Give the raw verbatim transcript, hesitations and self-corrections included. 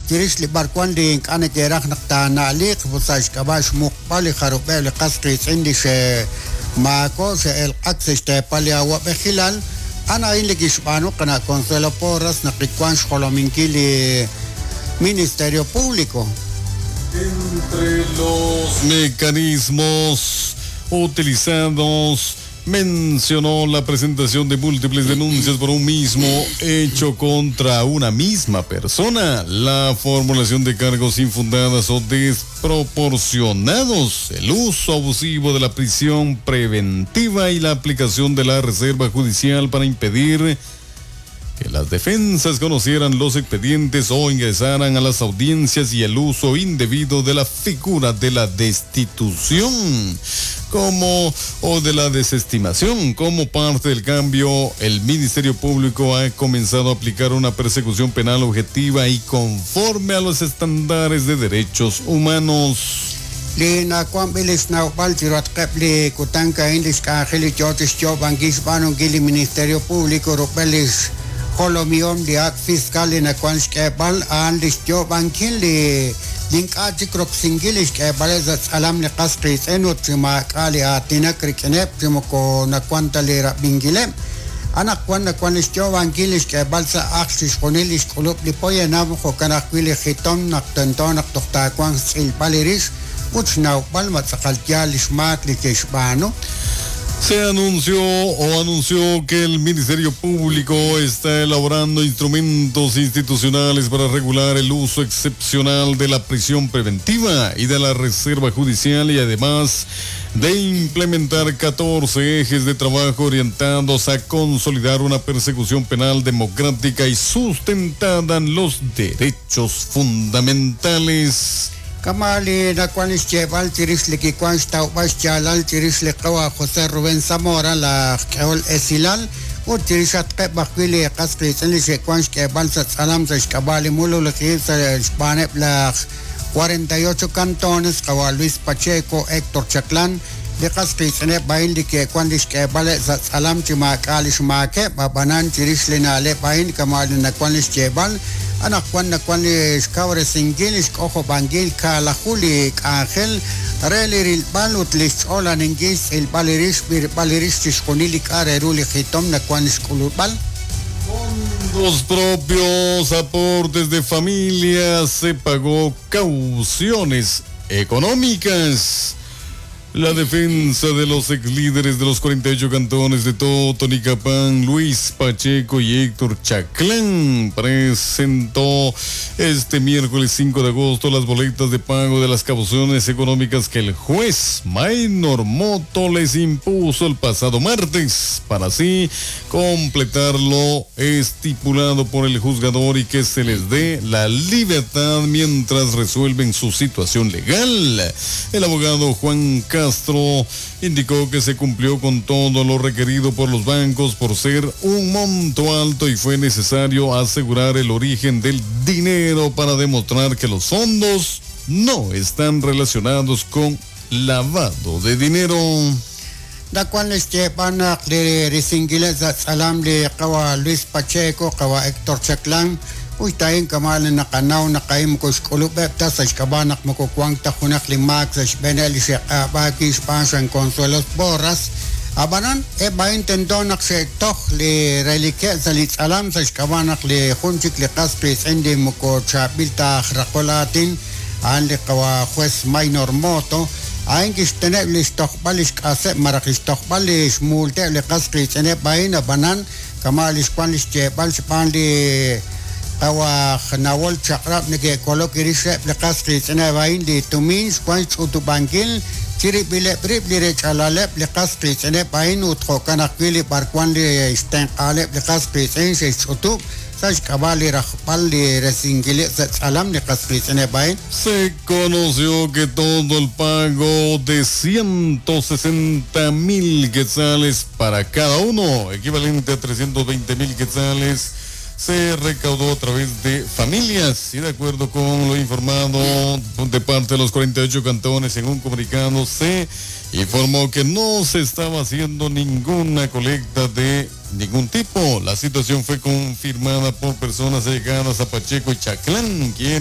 Chirix li b'arwan li ink'a' neke'raj naq taana'liq sa' xk'ab'a' xmuqb'al li jarub'eb' li qas qiitz'in li xe'maako' xe'elq'ak sa' xteepal li awa'b'ejilal a'an a'in li kixb'aanu qana' Consuelo Porras naq kiwan xjolominkil li Ministerio Público. Entre los mecanismos utilizados mencionó la presentación de múltiples denuncias por un mismo hecho contra una misma persona, la formulación de cargos infundadas o desproporcionados, el uso abusivo de la prisión preventiva y la aplicación de la reserva judicial para impedir que las defensas conocieran los expedientes o ingresaran a las audiencias y el uso indebido de la figura de la destitución como o de la desestimación. Como parte del cambio, el Ministerio Público ha comenzado a aplicar una persecución penal objetiva y conforme a los estándares de derechos humanos. Li nawanb'il li xnawb'al chiruhatqeb' li kutan a'in li xk'anjel li yoo chixyoob'ankil xb'aanunkil li Ministerio Público rub'el li xjolomihom li ak' fiscal li nawan xk'eeb'al a'an li xyoob'ankil li ink'a' chik roksinkil li xk'eeb'aleb' sa' tz'alam li qas qiitz'in ut chi maak'a' li aatinak rik'ineb' chi moko nawan ta li rab'inkileb'. Anaqwan nawan li xyoob'ankil li xk'eeb'al sa' ajl chixjunil li xk'ulub' li poyanam jo'kan ajwi' li jitom naq tento naq toj taawanq xtz'ilb'al li rix ut xnawb'al ma tz'aqal yaal li xmaak li ke'xb'aanu. Se anunció o anunció que el Ministerio Público está elaborando instrumentos institucionales para regular el uso excepcional de la prisión preventiva y de la reserva judicial y además de implementar catorce ejes de trabajo orientados a consolidar una persecución penal democrática y sustentada en los derechos fundamentales. Kamali nakuan xcheb'al chirix li kiwan xtawb'al xyaalal chirix li qawa José Rubén Zamora la k'ehol esilal ut chirix atqeb' ajwi' li qas qiitz'in li xe'wan xk'eeb'al sa' tz'alam sa' xk'ab'a' li mululij sa' xb'aaneb' laj cuarenta y ocho cantones qawa Luis Pacheco, Héctor Chaclán li qas qiitz'ineb' a'in li ke'wan li xk'eeb'al sa' tz'alam chi maak'a' li xmaakeb' ab'anan chirix li na'leb' a'in kamali nakuan li xcheb'al anaqwan nakuan li xkawresinkil li xk'ojob'ankil kaalaju li k'anjel re li rilb'al ut li xch'olaninkil xtz'ilb'al li rix b'irb'al li rix chixjunil li k'a' re ru li jitom nakuan xk'ulub'al. Los propios aportes de familia se pagó cauciones económicas. La defensa de los ex líderes de los cuarenta y ocho cantones de Totonicapán, Luis Pacheco y Héctor Chaclán, presentó este miércoles cinco de agosto las boletas de pago de las cauciones económicas que el juez Maynor Moto les impuso el pasado martes, para así completar lo estipulado por el juzgador y que se les dé la libertad mientras resuelven su situación legal. El abogado Juan Castro indicó que se cumplió con todo lo requerido por los bancos por ser un monto alto y fue necesario asegurar el origen del dinero para demostrar que los fondos no están relacionados con lavado de dinero. Da cual este van a Luis Pacheco, Héctor Chaclán, uy tayin kamal nakanaw nakayim ko xk'ulub'eb ta sa xk'ab'a naq moko wank ta junaq li maak sa xb'een li xe'q'ab'aaki xb'aan San Consuelo Porras ab'anan eb' a'in tento naq xe'toj li relikeb' sa li tz'alam sa xk'ab'a naq li jun chik li qas qiitz'in li moko chaab'il ta aj raqol aatin a'an li qawa juez Maynor Moto a'in kixteneb' li xtojb'al li xk'aseb' maraj li xtojb'al li xmuulteb' li qas qiitz'ineb' a'in ab'anan kama' li xwan li xyeeb'al xb'aan li Awaj nawol chaqrab' neke'kolok irixeb' li qas qiitz'ineb' a'in li tumin xwan xch'utub'ankil chirib'ileb' rib' li rech'alaleb' li qas qiitz'ineb' a'in ut jo'kan ajwi' li b'arwan li xtenq'aaleb' li qas qiitz'in xe'xch'utub' sa' xk'ab'a' li rajb'al li resinkileb' sa' tz'alam li qas qiitz'ineb' a'in. Se conoció que todo el pago de ciento sesenta mil quetzales para cada uno, equivalente a trescientos veinte mil quetzales, se recaudó a través de familias y de acuerdo con lo informado de parte de los cuarenta y ocho cantones en un comunicado se informó que no se estaba haciendo ninguna colecta de ningún tipo. La situación fue confirmada por personas allegadas a Pacheco y Chaclán, quienes